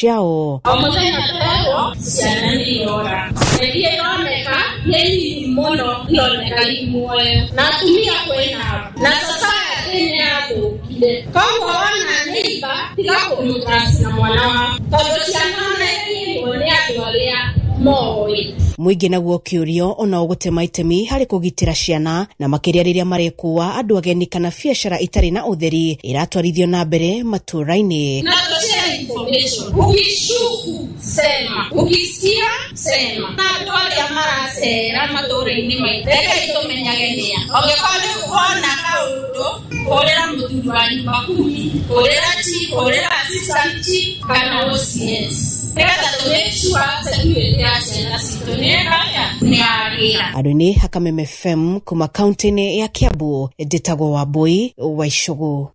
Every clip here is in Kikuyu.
Ciao. O mũthenya twerwo ciana nĩ irora, na iria ironeka nĩ nini mũno, ironeka i muoyo na atumia kwĩnao na society nĩ yathũkire. Koguo wona neighbor, tiga kũmũtrust na mwana waku, tondũ ciana ona inyuo nĩ andũ arĩa moĩ. Mũingĩ naguo ũkĩũrio ona ũgũtema itemi harĩ kũgitĩra ciana, na makĩria rĩrĩa marekũa andũ ageni kana biacara itarĩ na ũtheri iratwarithio na mbere matũũra-inĩ. Na tushare information. Ukishuku sema, ukisikia sema. Na andũ arĩa maracera matũũra-inĩ maitũ, rekei tũmenyage nĩa. Ũngĩkorwo nĩ wona kaũndũ, hũrĩra mũthuri wa nyumba kumi, hũrĩra chief, hũrĩra assistant chief kana OCS, nĩgetha tũ make sure security ya ciana citũ nĩ ĩkaya nĩ yagĩra. Andũ-inĩ Hakameme FM kuma kaunti-inĩ ya Kiambu, njĩtagwo Wambui wa Icũgũ.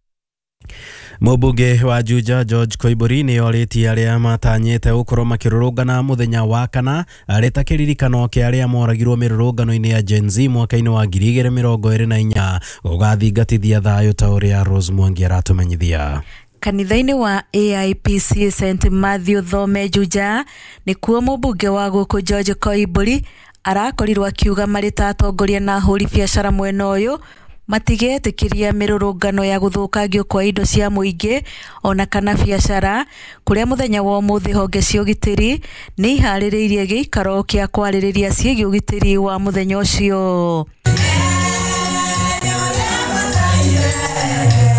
Mũmbunge wa Juja George Koimburi nĩ orĩtie arĩa matanyĩte gũkorwo makĩrũrũngana mũthenya wa kana arĩ ta kĩririkano kĩa arĩa moragirwo mĩrũrũngano-inĩ ya Gen Z mwaka-inĩ wa 2024 gũgathingatithia thayũ ta ũrĩa Rose Mwangi aratũmenyithia. Kanitha-inĩ wa AIPC St Matthew Thome Juja nĩkuo mũmbunge wa gũkũ George Koimburi arakorirwo akiuga marĩ ta atongoria na ahũri biacara mwena ũyũ matigetĩkĩria mĩrũrũngano ya gũthũkangio kwa indo cia mũingĩ ona kana biacara, kũrĩa mũthenya wa ũmũthĩ honge cia ũgitĩri nĩ iharĩrĩirie gĩikaro kĩa kwarĩrĩria ciĩgiĩ ũgitĩri wa mũthenya ũcio.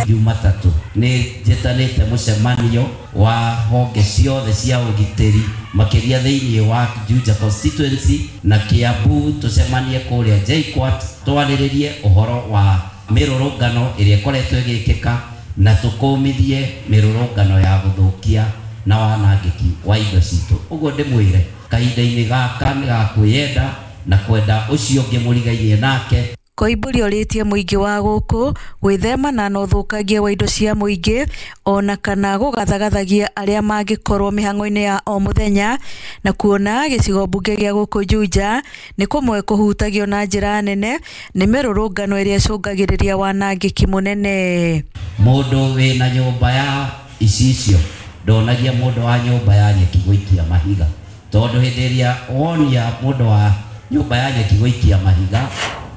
Jumatatũ nĩ njĩtanĩte mũcemanio wa honge ciothe cia ũgitĩri makĩria thĩinĩ wa Juja constituency na Kiambu, tũcemanie kũrĩa JKUAT twarĩrĩrie ũhoro wa mĩrũrũngano ĩrĩa ĩkoretwo ĩgĩkĩka na tũkũmithie mĩrũrũngano ya gũthũkia na wanangĩki wa indo citũ. Ũguo ndĩmwĩre kahinda-inĩ gaka nĩ ga kwĩyenda na kwenda ũcio ũngĩ mũrigainie nake. Koimburi orĩtie mũingĩ wa gũkũ gwĩthemana na ũthũkangia wa indo cia mũingĩ ona kana gũgathagathagia arĩa mangĩkorwo mĩhang'o-inĩ ya o mũthenya, na kuona gĩcigo mbunge gĩa gũkũ Juja nĩ kũmwe kũhutagio na njĩra nene nĩ mĩrũrũngano ĩrĩa ĩcũngagĩrĩria wanangĩki mũnene. Mũndũ wĩna nyũmba ya icicio ndonagia mũndũ wa nyũmba ya nyeki gũikia mahiga, tondũ hĩndĩ ĩrĩa wonia mũndũ wa nyũmba ya nyeki gũikia mahiga,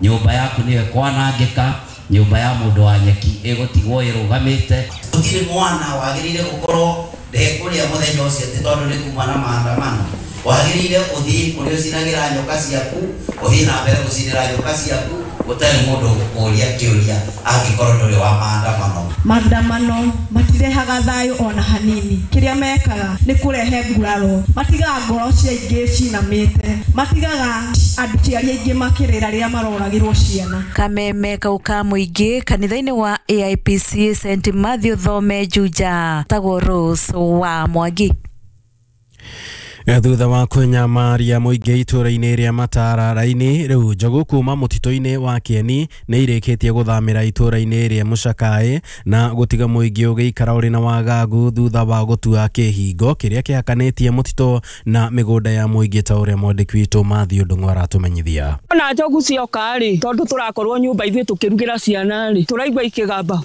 nyũmba yaku nĩyo ĩkwanangĩka, nyũmba ya mũndũ wa nyeki ĩgũtigwo ĩrũgamĩte. Gũtirĩ mwana wagĩrĩire gũkorwo ndekũrĩa mũthenya ũcio atĩ tondũ nĩ kuma na maandamano. Wagĩrĩire ũthiĩ kũrĩa ũcinagĩra nyoka ciaku, ũthiĩ na mbere gũcinĩra nyoka ciaku gũtarĩ mũndũ ũgũkũria kĩũria angĩkorwo ndũrĩ wa maandamano. Maandamano matirehaga thayũ ona hanini. Kĩrĩa mekaga nĩ kũrehe nguraro, matigaga ngoro cia aingĩ cinamĩte, matigaga aciari aingĩ makĩrĩra rĩrĩa maroragĩrwo ciana. Kameme kau ka mũingĩ kanitha-inĩ wa AIPC St Matthew Thome Juja, tagwo Rose wa Mwangi. Thutha wa kũnyamaria mũingĩ itũũra-inĩ rĩa Matara raini, rĩu njogu kuma mũtitũ-inĩ wa Kĩeni nĩ irĩkĩtie gũthamĩra itũũra-inĩ rĩa Mũcakaĩ na gũtiga mũingĩ ũgĩikara ũrĩ na wagagu thutha wa gũtua kĩhingo kĩrĩa kĩhakanĩtie mũtitũ na mĩgũnda ya mũingĩ ta ũrĩa mwandĩki witũ Matthew Ndung'u aratũmenyithia. Ona njogu cioka rĩ, tondũ tũrakorwo nyũmba ithuĩ tũkĩrugĩra ciana rĩ, tũraigua ikĩgamba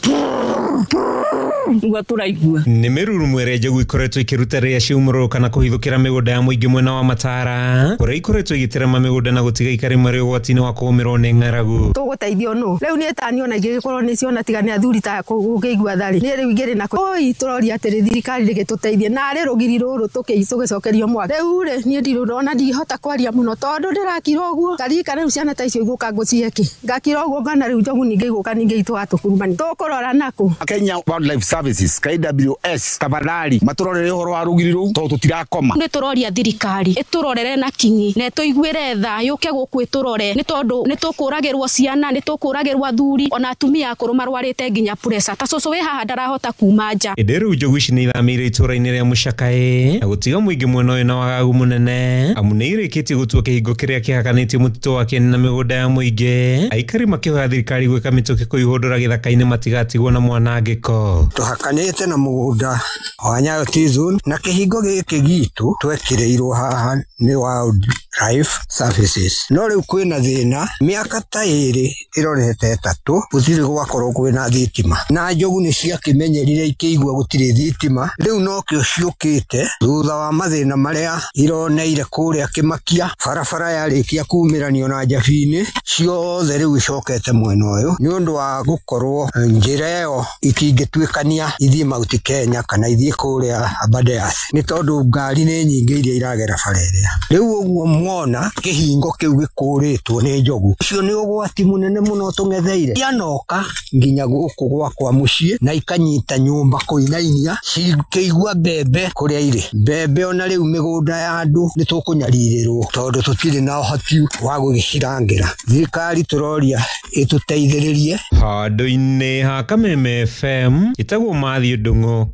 nĩguo tũraigua. Nĩ mĩrurumo ĩrĩa njogu ikoretwo ikĩruta rĩrĩa ciaumũrũrũka na kũhithũkĩra mĩgũnda ya mũingĩ mwena wa Matara, kũrĩa ikoretwo igĩterema mĩgũnda na gũtiga ikari marĩ ũgwati-inĩ wa kũgũmĩrwo nĩ ng'aragu. Tũgũteithio nũ? Rĩu niĩ tani ona ingĩgĩkorwo nĩ ciona tiga nĩ athuri ta gũkĩigua tharĩ. Niĩ rĩu ingĩrĩ na oi tũroria atĩrĩ thirikari rĩgĩtũteithie narĩ rũgiri rũrũ tũgĩcokerio mwaka. Rĩu rĩ niĩ ndirona ndihota kwaria mũno tondũ ndĩrakira ũguo. Ngarika rĩu ciana ta icio igũka ngũcihe kĩ? Ngakira ũguo ngona rĩu njogu ningĩ igũka ningĩ itũgatũkurumani. Tũkũrora nakũ? Kenya Wildlife Services KWS tafadhali maturorere ũhoro wa rũgiri rũu tondũ tũtirakoma. Nĩ tũroria thirikari ĩtũrorere na kinyi na ĩtũiguĩre tha yũke gũkũ ĩtũrore, nĩ tondũ nĩ tũkũragĩrwo ciana, nĩ tũkũragĩrwo athuri ona atumia akũrũ marwarĩte nginya pressure ta cũcũ wĩ haha ndarahota kuma nja. Ĩndĩ rĩu njogu ici nĩ ithamĩire itũũra-inĩ rĩa Mũcakaĩ na gũtiga mũingĩ mwena ũyũ na wagagu mũnene, amu nĩ irĩkĩtie gũtua kĩhingo kĩrĩa kĩhakanĩtie mũtitũ wa Kĩeni na mĩgũnda ya mũingĩ, aikari makĩhoya thirikari gwĩka mĩtũkĩ kũihũndũra gĩthaka-inĩ matigatigwo na mwanangĩko. Tũhakanĩte na mũgũnda wa Nyayo T-zone na kĩhingo gĩkĩ gitũ twekĩrĩirwo haha nĩ Life Services. No rĩu kwĩna thĩna, mĩaka ta 2 ĩrorete 3 gũtirĩ gwakorwo kwĩna thitima, na njogu nĩ ciakĩmenyerire ikĩigua gũtirĩ thitima. Rĩu nokĩo ciũkĩte thutha wa mathĩna marĩa ironeire kũrĩa Kĩmakia, barabara yarĩkia kumĩranio na Njabini, ciothe rĩu icokete mwena ũyũ nĩ ũndũ wa gũkorwo njĩra ĩyo itingĩtuĩkania ithiĩ Mount Kenya kana ithiĩ kũrĩa Aberdares, nĩ tondũ ngari nĩ nyingĩ iria iragera bara ĩrĩa. Rĩu ũguo mwona kĩhingo kĩu gĩkũrĩtwo nĩ njogu, ũcio nĩ ũgwati mũnene mũno tũng'etheire. Cianoka nginya gũkũ gwakwa mũciĩ na ikanyita nyũmba kũinainia, cikĩigua mbembe kũrĩa irĩ. Mbembe ona rĩu mĩgũnda ya andũ nĩ tũkũnyarirĩrwo tondũ tũtirĩ na ũhoti wa gũgĩcirangĩra. Thirikari tũroria ĩtũteithĩrĩrie. Handũ-inĩ ha Kameme FM ĩtagwo Mathiũ Ndung'u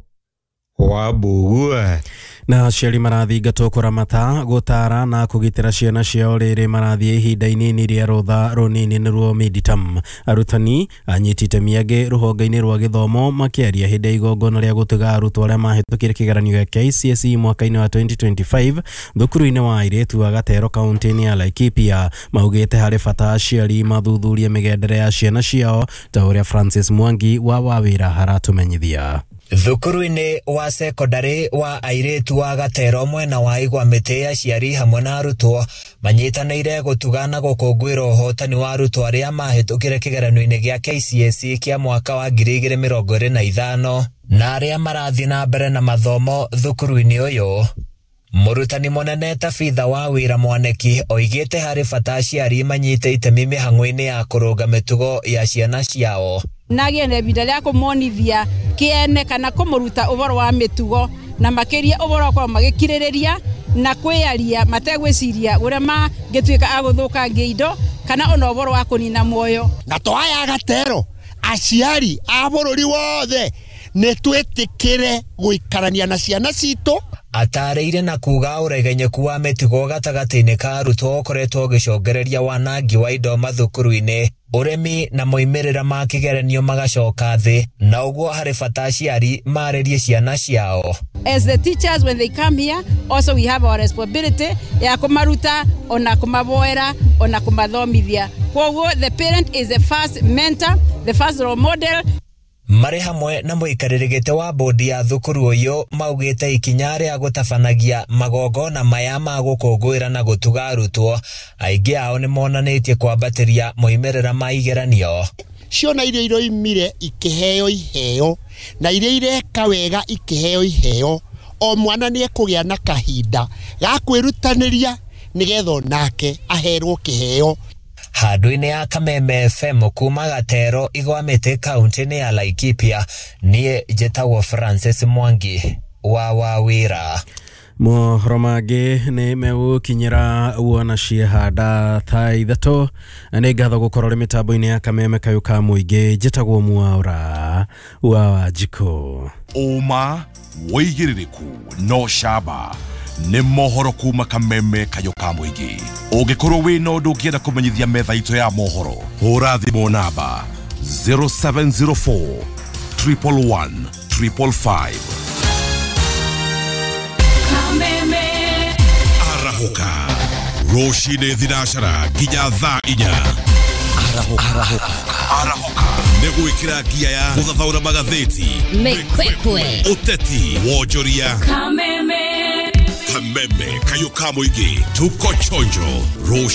wa Mbugua. Na aciari marathingatwo kũramata, gũtara na kũgitĩra ciana ciao rĩrĩ marathiĩ ihinda inini rĩa rũtha rũnini nĩruo midterm. Arutani anyiti itemi angĩ rũhonge-inĩ rwa gĩthomo makĩaria hĩndĩ ya igongona rĩa gũtuga arutwo arĩa mahĩtũkire kĩgeranio gĩa KCSE mwaka-inĩ wa 2025 thukuru-inĩ wa airĩtu wa Gatero kaunti-inĩ ya Laikipia, maugĩte harĩ bata aciari mathuthurie mĩgendere ya ciana ciao ta ũrĩa Francis Mwangi wa Wawĩra aratũmenyithia. Thukuru-inĩ wa sekondari wa airĩtu wa Gatero mwena wa Igwa mĩtĩ, aciari hamwe na arutwo manyitanĩire gũtuga na gũkũngũĩra ũhotani wa arutwo arĩa mahĩtũkire kĩgeranio-inĩ gĩa KCSE kĩa mwaka wa 2025 na arĩa marathiĩ na mbere na mathomo thukuru-inĩ ũyũ. Mũrutani mũnene Tabitha wa Wĩra Mwaneki oigĩte harĩ bata aciari manyite itemi mĩhang'o-inĩ ya kũrũnga mĩtugo ya ciana ciao. Nagĩe na ihinda rĩa kũmonithia kĩene kana kũmũruta ũhoro wa mĩtugo na makĩria ũhoro wa gũkorwo magĩkirĩrĩria na kwĩyaria mategwĩciria ũrĩa mangĩtuĩka a gũthũkangia indo kana ona ũhoro wa kũnina muoyo. Na to aya Gatero, aciari a bũrũri wothe nĩ twĩtĩkĩre gũikarania na ciana citũ. Atarĩire na kuga ũregenyeku wa mĩtugo gatagatĩ-inĩ ka arutwo ũkoretwo ũgĩcũngĩrĩria wanangi wa indo mathukuru-inĩ, ũremi na moimĩrĩra ma kĩgeranio magacoka thĩ, na ũguo harĩ bata aciari marĩrie ciana ciao. As the teachers when they come here also we have our responsibility ya kũmaruta ona kũmaboera ona kũmathomithia. Kwoguo the parent is the first mentor, the first role model. Marĩ hamwe na mũikarĩri gĩtĩ wa bodi ya thukuru ũyũ maugĩte ikinya rĩa gũtabanagia magongona maya ma gũkũngũĩra na gũtuga arutwo, aingĩ ao nĩ monanĩtie kwambatĩria moimĩrĩra ma igeranio. Ciona iria iroimire ikĩheo iheo na iria ireka wega ikĩheo iheo, o mwana nĩ ekũgĩa na kahinda ga kwĩrutanĩria nĩgetha onake aherwo kĩheo. Handũ-inĩ ya Kameme FM kuma Gatero Igwa mĩtĩ kaunti-inĩ ya Laikipia, niĩ njĩtagwo Francis Mwangi wa Wawĩra. Mohoro mangĩ nĩ megũkinyĩra wona ciehanda thaa 3. Nĩ ngatho gũkorwo rĩ mĩtambo-inĩ ya Kameme kayũ ka mũingĩ. Njĩtagwo Mwaura wa Wanjikũ. Ũma wĩigĩrĩrĩku no camba nĩ mohoro kuma Kameme kayũ ka mũingĩ. Ũngĩkorwo wĩna ũndũ ũngĩenda kũmenyithia metha itũ ya mohoro, hũra thimũ namba 0704 111 555. Arahũka rũcinĩ thinacara nginya thaa 4. Arahũka nĩ gwĩkĩra ngia ya gũthathaũra magathĩti, mĩkwekwe, ũteti, wonjoria. Kameme Kameme kayũ ka mũingĩ, tuko chonjo rũcinĩ.